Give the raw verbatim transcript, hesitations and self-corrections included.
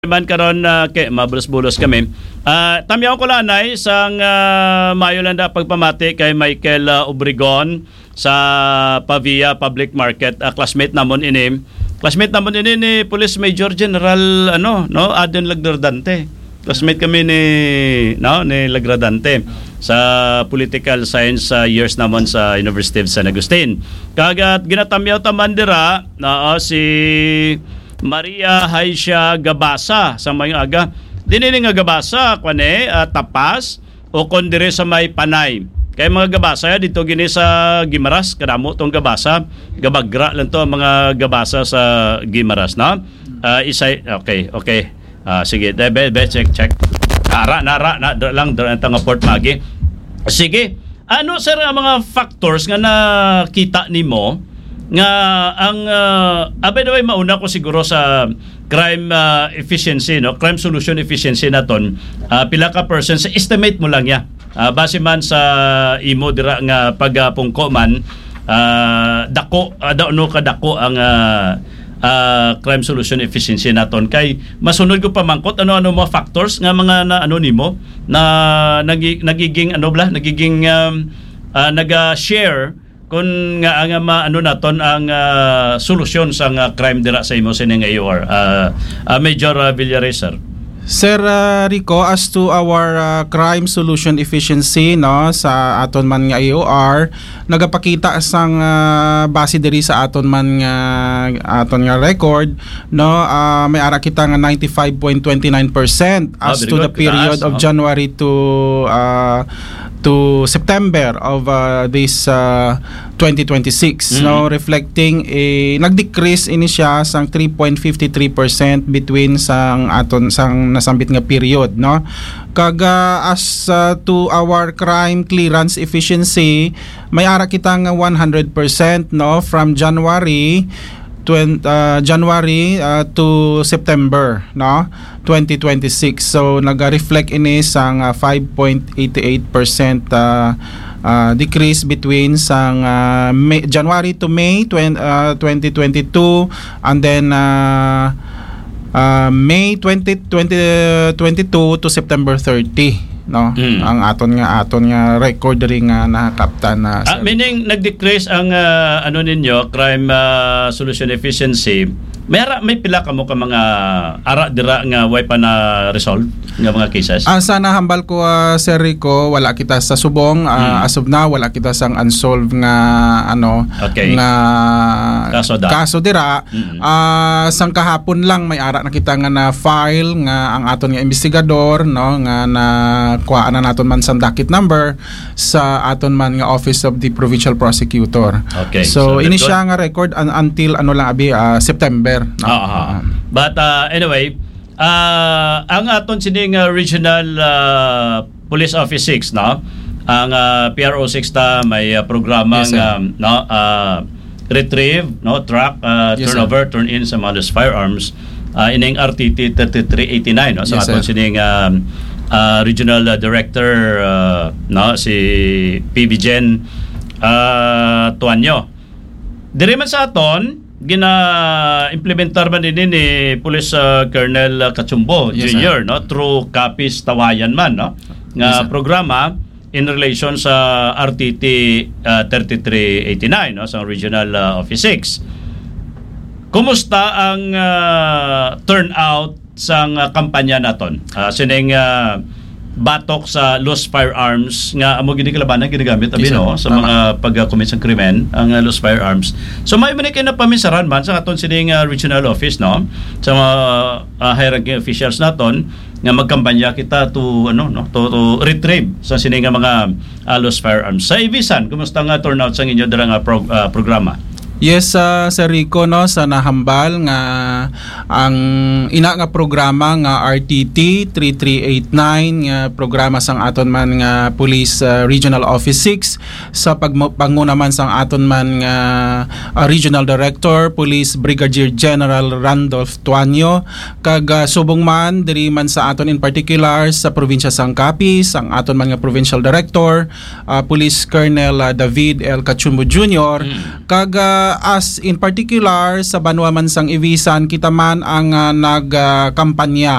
man karon, ah, kay mabulos-bulos kami. Ah, tamyaw ko lang, Nay, sang, ah, maayo lang da pagpamati kay Michael, ah, Obregon sa Pavia Public Market. Ah, classmate namon ini. Classmate namon ini ni Police Major General, ano, no, Aden Lagradante. Classmate kami ni, no, ni Lagradante sa political science, ah, years namon sa University of San Agustin. Kag, ah, ginatamyaw ta man dira, oo, si Maria Haisha Gabasa sa mayong aga. Dili ni nga Gabasa, kwan eh, ah, Tapas, o kon diri sa may Panay. Kay mga Gabasa, dito gini sa Guimaras, kadamo tong Gabasa, gabagra lang to ang mga Gabasa sa Guimaras, no? Ah, isay, okay, okay. Ah, sige, de, be, be, check, check. Ara, nara, na, dra lang, dra lang tanga Port Magi. Sige, ano, sir, ang mga factors nga nakita nimo nga ang, ah, ah, by the way, mauna ko siguro sa crime, ah, efficiency, no? Crime solution efficiency naton. Ah, pila ka percent sa estimate mo lang ya? Ah, base man sa imo dira nga pagapungko man, ah, dako, ah, daw, no, kadako ang, ah, ah, crime solution efficiency naton. Kay masunod ko pamangkot, ano-ano mga factors nga mga na, ano nimo, na nagi-, nagiging, ano bala, nagiging, um, ah, naga-share kun nga ang, ah, ma-, ano naton ang, ah, solusyon sa nga crime dira sa imo sining A O R, ah, ah, Major, ah, Villares, sir? Sir, ah, Rico, as to our, ah, crime solution efficiency, no, sa aton man nga A O R, nagapakita sang, ah, base diri sa aton man nga, aton nga record, no, ah, may ara kita nga ninety-five point twenty-nine percent Ah, as very to the good. Period Taas, of no? January to, ah, to September of, ah, this, ah, twenty twenty-six, no, Mm-hmm. Reflecting, eh, nag-decrease ini siya sang three point fifty three percent between sang aton, sang nasambit nga period, no? Kag, ah, as, ah, to our crime clearance efficiency, may ara kita nga one hundred percent, no, from January twen-, ah, January, ah, to September, no, twenty twenty-six. So, naga-reflect ini sang, ah, five point eight eight percent, ah, ah, decrease between sang, ah, May, January to May twen-, ah, twenty twenty-two, and then, ah, ah, May twenty, twenty twenty-two to September thirty, no? Mm. Ang aton nga, aton nga record diri nga nakakaptan na, Ah, sir. Meaning, nag-decrease ang, ah, ano ninyo, crime, ah, solution efficiency. May ara, may pila kamo ka mga ara dira nga way pa na-resolve nga mga cases? Ah, sa nahambal ko, ah, Sir Rico, wala kita sa subong. Ah, Mm. As of now, wala kita sang unsolved nga, ano, Okay. nga Kaso da. kaso dira. Mm. Ah, sang kahapon lang may ara na kita nga na-file nga ang aton nga investigador, no, nga nakuhaan na naton man sang docket number sa aton man nga Office of the Provincial Prosecutor. Okay, So, so ini that's siya good. nga record un-, until ano lang abi, ah, September, no? Ah, ah. Ah. But, ah, anyway, ah, ang aton sining, ah, regional, ah, Police Office six, no? Ang, ah, P R O six ta may, ah, programa Yes, sir. nga, no, ah, retrieve, no, track, ah, Yes, sir. turnover, turn in sa mga loose firearms. Ah, ining R T T thirty-three eighty-nine, no? Sa Yes, aton sir. sining, ah, ah, regional, ah, director, ah, no, si P B Jen, ah, Tuanyo. Diri man sa aton, gina-implementar man ini ni Police, ah, Colonel, ah, Cachumbo Yes, sir. Junior, no? Through Capiz Tawayan man, no? Nga Yes, sir. programa in relation sa R T T, ah, thirty-three eighty-nine, no? Sa Regional, ah, Office six. Kumusta ang, ah, turnout sang, ah, kampanya naton? Ah, sining, ah, batok sa loose firearms nga amo gid ni kalabanan ginagamit, abi, Yes, sir. no, sa Tama. mga pag-commit sa krimen, ang, ah, loose firearms. So, may man kay napaminsaran man sa aton sining, ah, regional office, no, sa mga, ah, high-ranking officials naton nga magkampanya kita to, ano, no, to, to retrieve sa sini nga mga, ah, loose firearms. Sa Ibisan, kumusta nga turnout sa inyo dira nga pro-, ah, programa? Yes, ah, Sir Rico, no, sa nahambal nga ang ina nga programa nga R T T three three eight nine, nga programa sang aton man nga Police, ah, Regional Office six, sa pagmo-, panguna man sang aton man nga, ah, Regional Director, Police Brigadier General Randolph Tuanyo, kag, ah, subong man, diri man sa aton in particular, sa probinsya sang Capiz, ang aton man nga Provincial Director, ah, Police Colonel, ah, David L. Cachumbo Junior, Mm. kag, ah, As in particular, sa banwa man sang Ivisan, kita man ang, ah, nagkampanya